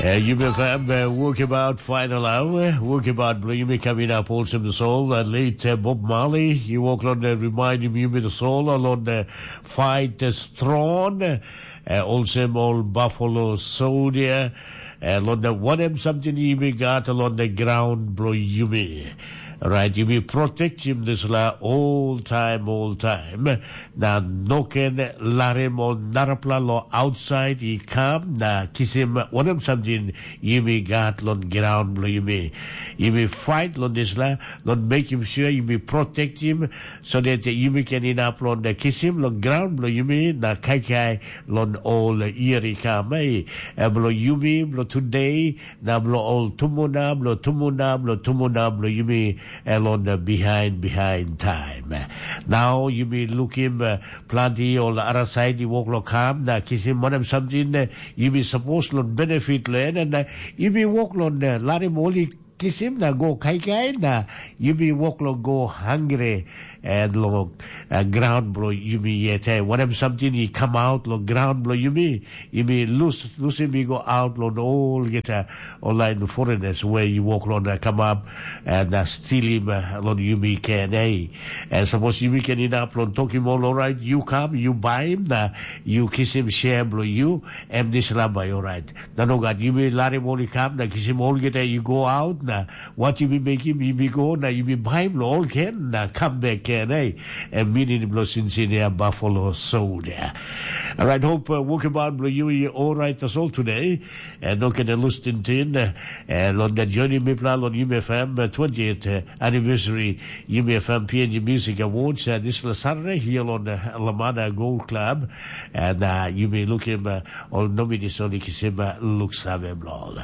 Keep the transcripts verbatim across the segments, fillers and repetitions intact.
Uh, yumi fam, uh, wokabaut final hour, wokabaut bilong yumi kam inap olsem tasol, uh, late uh, Bob Marley, i wok long uh, remind yumi tasol, uh, long uh, fight uh, strong, uh, olsem ol buffalo soldier, uh, long uh, wanem samting yumi gat long the ground bilong yumi. Right, yumi protectim dispela all time, all time. Na no ken larim ol narapela lo outside i kam na kisim wanem samting yumi gat long ground bilong yumi. Yumi fight long dispela, long mekim sure yumi protectim, so that yumi ken inap long kisim long ground bilong yumi na kaikai long ol year i kam. Hey, bilong yumi, bilong today, na bilong ol tumuna, bilong tumuna, bilong tumuna, bilong yumi elon uh, behind, behind time. Now yumi lukim uh, planti ol arasait i wok lo kam na kisim wanem samting uh, yumi sapos lo benefit lo en, and uh, yumi wok lo uh, larim ol i kisim na go kaikai na yumi wok lo go hangre and lo uh, ground blo yumi yet. Hey, wanem samting i come out lo ground blo yumi, yumi lus lusim i go out lo olgeta online foreigners where you walk lo na come up and uh, stealing uh, lo yumi can. Hey, and suppose yumi can enough lo talking all right, you come, you buy him, na you kiss him share blo you, and this rabbi all right. Na no gat yumi larim ol i kam na kisim olgeta i go aut na wat yumi mekim yumi go na yumi baim long ol ken na kam bek ken ei. Em minin bilong sinsinia buffalo soldier. Alright, hope uh, wokabaut bilong yu i orait tasol today. And no ken lus tintin. And long that journey mipla long UMFM uh, twentieth uh, anniversary UMFM PNG Music Awards uh, this Saturday here on uh, Lamada Gold Club. And uh, you may look him uh, Ol nomini soli kisim luksave blo ol.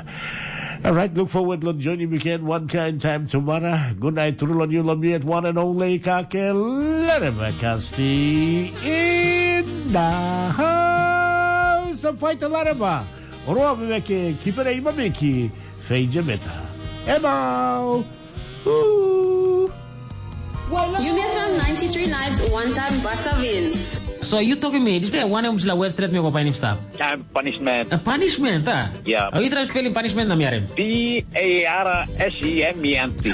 Alright, look forward long joining weekend one kind time tomorrow. Good night, true on you, love me at one and only Kake Lareva Kasti in the house of Fight Lareva. Roa Meke, Kipere Imamiki, Feija Meta. Emau! Ooh. Yumi FM ninety-three nights, one time butter beans. So you talking me, this way one em sila web straight me go painim stap. Time punishment. A punishment, ah? Yeah. Are you trying spelling punishment na miarim? P A R S E M E N T.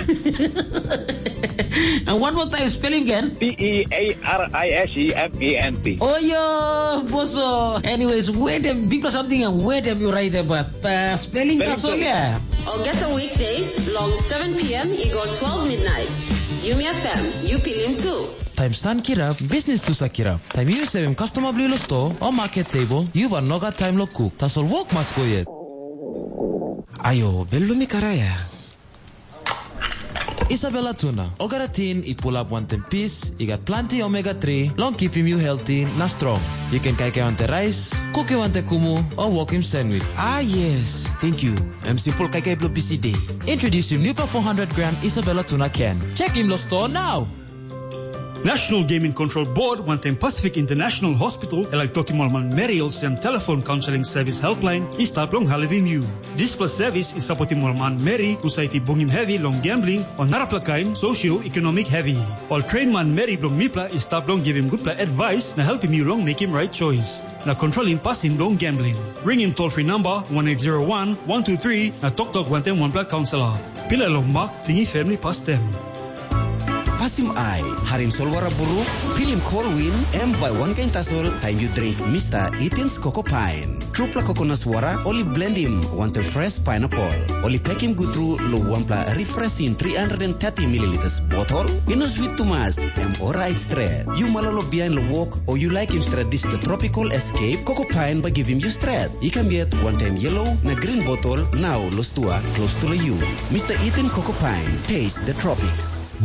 And one more time spelling again. P E A R I S E M E N T. Oh yo, boso. Anyways, where them big or something and where them you write about uh, spelling that's all, yeah. Or get a weekdays long seven p.m. i go twelve midnight. Yumi FM, you pilim too. Taim san kirap, bisnis tu sa kirap. Taim yu sevim kastoma bilong lo sto o market table, yu bar nogat taim lo kuk. Tasol wok mas go yet. Ayo, belumi karaya. Isabella tuna, ogara tin i pulap wantaim pis, i gat planti omega three, long kipim yu healthy na strong. You can kaikai wantaim rice, kuki wantaim kumu, o wokim sandwich. Ah yes, thank you. Em simple kaikai bilong busy day. Introducing new four hundred gram Isabella tuna can. Check him lo store now. National Gaming Control Board wantaim Pacific International Hospital e laik tokim ol manmeri olsem telefon kaunseling sevis helpline i stap long helpim yu. Dispela sevis i sapotim ol manmeri husat i bungim hevi long gambling o narapela kain socio-ekonomik hevi. Ol train manmeri bilong mipela i stap long givim gutpela advice na helpim yu long mekim rait choice na kontrolim pasin bilong gambling. Ringim toll free number one eight zero one one two three na toktok wantaim wanpela kaunselor. Pilai long mak tingim family pastem. Pasim ai, harim solwara buruk, pilim kol win, em bai wankain tasol taim yu dring Mista Itens Koko Pain. Trupela kokonas wara ol i blendim wantaim fresh pineapple. Ol i pekim gut tru long wanpela refreshing three hundred thirty milliliters botol. I no swit tumas, em orait stret. Yu malolo bihain long wok o yu laikim stret dispela tropical escape, Koko Pain bai givim yu stret. I kam yet wantaim yellow na green botol nau lo stua klostu long yu. Mista Iten Koko Pain, taste the tropics.